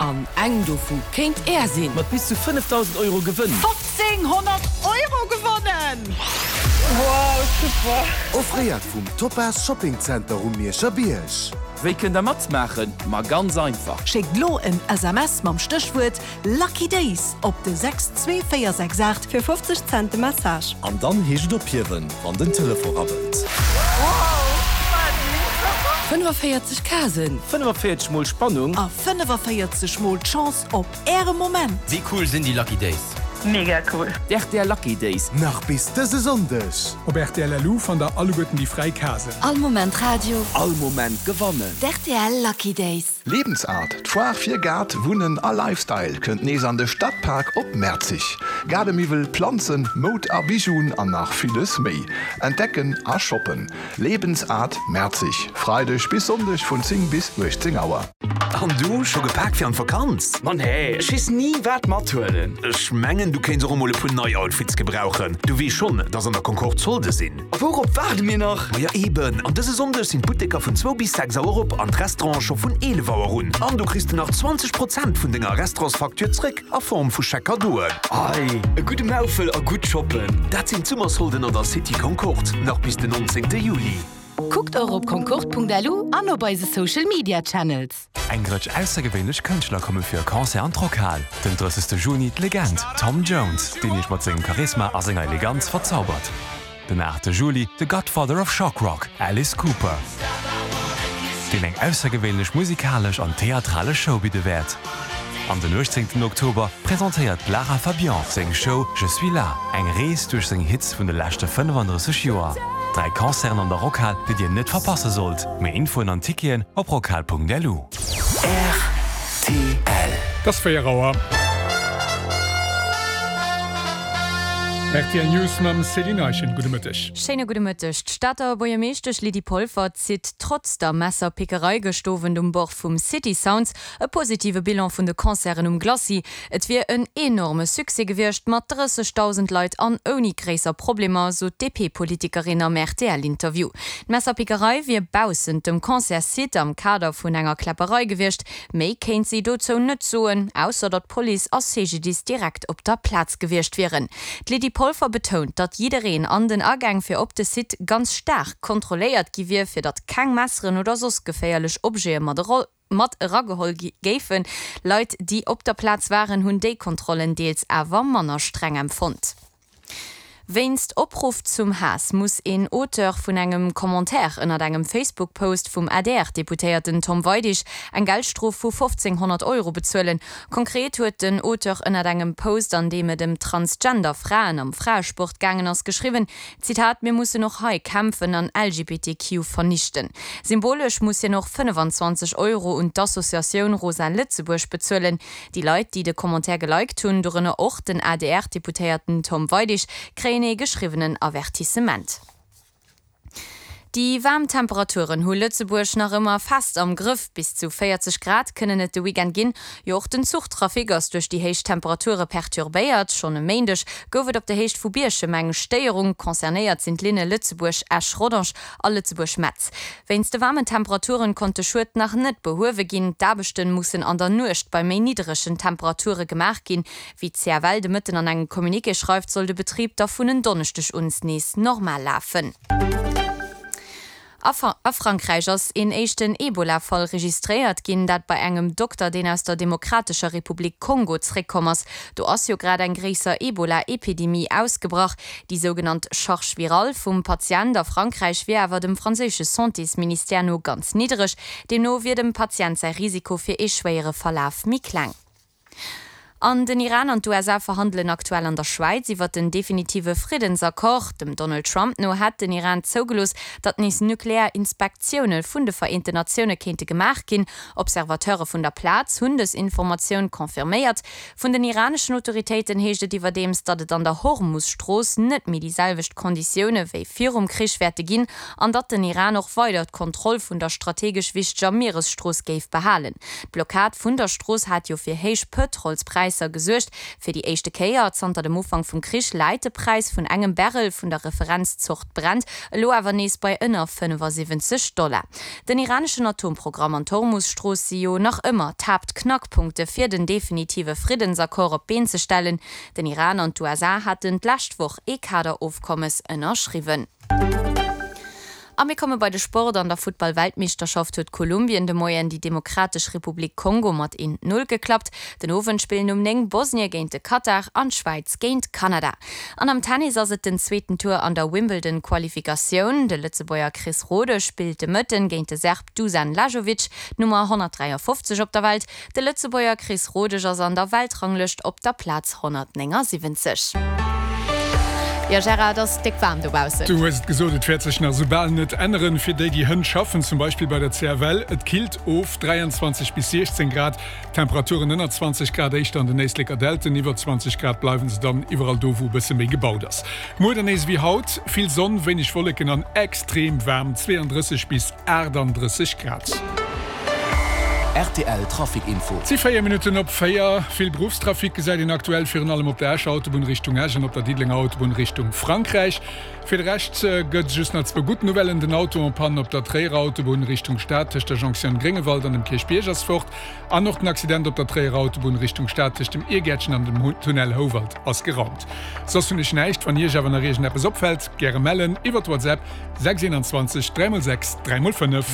An eng dovu kéint Är sinn! Mat bis zu 5.000 Euro Gewënn! 1500 Euro gewonnen! Wow, super! Offréiert vum Topaz Shopping Center um Mierscher Bierg. Wéi kënnt der matmaachen? Ma ganz einfach! Schéckt lo en SMS mam Stéchwuert Lucky Days op de 62468 fir 50 Cent de Message. An dann heescht et ophiewen, wann den Telefon rabbelt. 45 Casen. 45 mol Spannung. A 45 mol d'Chance op Äre Moment. Wéi cool sinn déi Lucky Days? Mega cool! D'RTL Lucky Days. Nach bis dëse Sonndeg. Op rtl.lu fannt der alleguerten déi fräi Casen. All Moment Radio. All Moment gewannen. D'RTL Lucky Days. Lebensart, d'Foire fir Gaart, Wunnen a Lifestyle kënnt nees an de Stadpark op Merzig. Gaarde-Miwwel, Planzen, Moud a Bijouen an nach villes méi. Entdecken a shoppen. Lebensart Merzig, Freideg bis Sonndeg vun 10 bis 18 Auer. An du, scho gepaakt fir an d'Vakanz? Ma nee, ech weess ni wat mathuelen. Ech mengen du kéints och emol e puer nei Outfits gebrauchen. Du weess schonn, dass an der Concorde Solde sinn. A wourop waarde mir nach? Maja eben, an dëse Sonndeg sinn d'Butteker vun zwou bis 6 Auer op an d'Restaurante scho vun 11 Auer un. An du kriss de nach 20 Prozent vun denger Restaurantsfacture zréck a Form vu Chèque-Cadeauen. Ei, e gudde Maufel a gutt shoppen! Dat sinn d'Summersolden an der City Concorde, nach bis den 19 Juli. Kuckt och op concorde.lu an op eise Social Media Channels. Eng Rëtsch aussergewéinlech Kënschtler komme fir e Concert an d'Rockhal. Den 30. Juni d'Legend Tom Jones, deen iech mat sengem Charisma a senger Eleganz verzaubert. Den 8. Juli de Godfather of Shock Rock, Alice Cooper, deen eng aussergewéinlech musikalesch an theatralesch Show bidde wäert. An den 18. Oktober presentéiert d'Lara Fabian seng Show Je suis là, eng Rees duerch seng Hits vun de leschte 35 Joer. 3 Concerten an der Rockhal, déi dir net verpasse sollt. Méi Infoen an Ticketen op rockhal.lu. Rtl. Et ass 4 Auer. Rtl News mam Céline Eischen. Gudde Mëtteg. Schéine gudde Mëtteg. D'Stater Buergermeeschtesch Lydie Polfer zitt trotz der Messerpickerei gëscht Owend um Bord vum City Sounds e positive Bilan vun de Concerten um Glacis. Et wier en enorme Succès gewiescht, mat 30.000 Leit an ouni gréisser Problemer, sot d'DP-Politikerin am RTL-Interview. D'Messerpickerei wier baussent dem Concertssite am Kader vun enger Kläpperei gewiescht. Méi kéint si dozou net soen, ausser datt Police a CGDIS direkt op der Plaz gewiescht wieren. D'Lydie Polfer betount, datt jiddereen an den Agäng fir op de Site ganz staark kontrolléiert gi wier, fir datt keng Messeren oder soss geféierlech Objete mat mat erageholl géifen. Leit, déi op der Plaz waren, hunn déi Kontrollen deels awer manner streng empfonnt. Wéinst Opruff zum Haass muss een Auteur vun engem Commentaire ënnert engem Facebook-Post vum ADR-Deputéierten Tom Weidig eng Geldstrof vu 1.500 Euro bezuelen. Konkret huet den Auteur ënnert engem Post, an deem et ëm Transgender Fraen am Fraesport gaangen ass, geschriwwen, Zitat, Mir mussen och hei kämpfen an LGBTQ vernichten. Symbolesch muss hien och 25 Euro un d'Associatioun Rosa Lëtzebuerg bezuelen. Déi Leit, déi de Commentaire geliked hunn, dorënner och den ADR-Deputéierten Tom Weidig, kréien ee geschriwwenen Avertissement. Déi waarm Temperaturen hu Lëtzebuerg nach ëmmer fest am Grëff. Bis zu 40 Grad kënnen et de Weekend ginn. Jo, och den Zuchtrafic ass duerch déi héich Temperature perturbéiert. Schonn e Méindeg gouf et op der Héicht vu Bierchem eng Stéierung. Concernéiert sinn d'Linne Lëtzebuerg-Esch-Rodange a Lëtzebuerg-Metz. Wéinst de waarmen Temperaturen konnt de Schued nach net behuewe ginn. D'Aarbechte mussen an der Nuecht bei méi nidderegen Temperature gemaach ginn. Wéi d'CFL de Mëtten an engem Communiqué schreift, soll de Betrib da vun en Donneschdeg un nees normal lafen. A Frankräich ass een éischten Ebola-Fall registréiert ginn, dat bei engem Dokter, deen aus der Demokratescher Republik Kongo zréckkomm ass. Do ass jo grad eng gréisser Ebola-Epidemie ausgebrach. Déi sougenannt Charge virale vum Patient a Frankräich wier awer dem franséische Santésministère no ganz niddereg. Deemno wier dem Patient säi Risiko fir ee schwéiere Verlaf méi kleng. An den Iran an d'USA verhandelen aktuell an der Schwäiz iwwer den definitive Friddensaccord. Dem Donald Trump no hätt den Iran zougelooss, datt nees nuklear Inspektioune vun de Vereenten Natioune kéinte gemaach ginn. Observateure vun der Plaz hunn dës Informatioun confirméiert. Vun den iraneschen Autoritéiten heescht et iwwerdeems, datt et an der Hormus-Strooss net méi déi selwecht Konditioune wéi virum Krich wäerte ginn an datt den Iran och weider d'Kontroll vun der strategesch wichteger Mieresstrooss géif behalen. D'Blockad vun der Strooss hat jo fir héich Pëtrolspräisser. Präisser gesuergt. Fir déi éischte Kéier zanter dem Ufank vum Krich läit de Präis vun engem Barrel vun der Referenzzort Brent elo awer nees bei ënner 75 Dollar. Den iraneschen Atomprogramm an d'Hormus-Strooss si jo nach ëmmer d'Haaptknackpunkte fir den definitive Friddensaccord op d'Been ze stellen. Den Iran an d'USA haten d'lescht Woch ee Kaderofkommes ënnerschriwwen. A mir komme bei de Sport. An der Futtball-Weltmeeschterschaft huet Kolumbien de Moien déi Demokratesch Republik Kongo mat 1, 0 geklappt. Den Owend spillen um 9 Bosnie géint de Katar an d'Schwäiz géint Kanada. An am Tennis ass et den zweeten Tour an der Wimbledon-Qualifikatioun. De Lëtzebuerger Chris Rode spillt de Mëtten géint de Serb Dusan Lajovic, d'Nummer 153 op der Welt. De Lëtzebuerger Chris Rodesch ass an der Weltranglëscht op der Plaz 179. Jo Gérard, et ass déck waarm dobaussen. Du hues et gesot, et wäert sech nach esou bal net änneren. Fir déi, déi hënt schaffen, zum Beispill bei der CFL, et killt of, 23 bis 16 Grad, Temperaturen ënner 20 Grad éischter an den Éisleker Dälten, iwwer 20 Grad bleiwen se dann iwwerall do, wou e bësse méi gebaut ass. Muer dann nees ewéi haut, vill Sonn, wéineg Wolleken an extrem waarm, 32 bis 38 Grad. Rtl Trafic Info. Et si 4 Minutten op 4. Vill Beruffstrafic gesäit een aktuell virun allem op der Escher Autobunn Richtung Esch an op der Diddelenger Autobunn Richtung Frankräich. Fir de Rescht gëtt just nach zwou gutt Nouvellen, Den Auto en panne op der Tréierer Autobunn Richtung Stad tëscht der Jonktioun Gréngewald an dem Kierchbierg ass fort an och den Accident op der Tréierer Autobunn Richtung Stad tëscht dem Irgäertchen an dem Tunnel Houwald ass geraumt. Soss hunn ech näischt. Wann Iech awer nach iergendeppes opfält, gäre mellen iwwert WhatsApp. 6 21 3 x 6 3 x 5.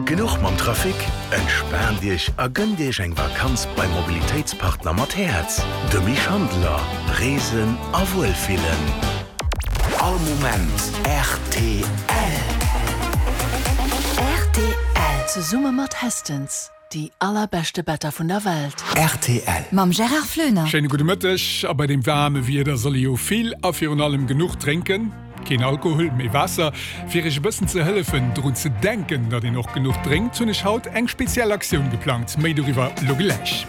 Genuch mam Trafic? Entspaant Iech a gënnt Iech eng Vakanz beim Mobilitéitspartner mat Häerz, dem Misch Handeler. Reesen a Wuelfillen. All Moment rtl. Rtl. Zesumme mat Hestons. Déi allerbeschte Better vun der Welt. Rtl. Mam Gérard Floener. Schéine gudde Mëtteg. A bei deem waarme Wieder soll ee jo vill a virun allem genuch drénken. Keen Alkohol, mee Waasser. Fir iech e bëssen ze hëllefen, drun ze denken, datt een och genuch drénkt, hunn ech haut eng speziell Aktioun geplangt. Méi doriwwer lo gläich.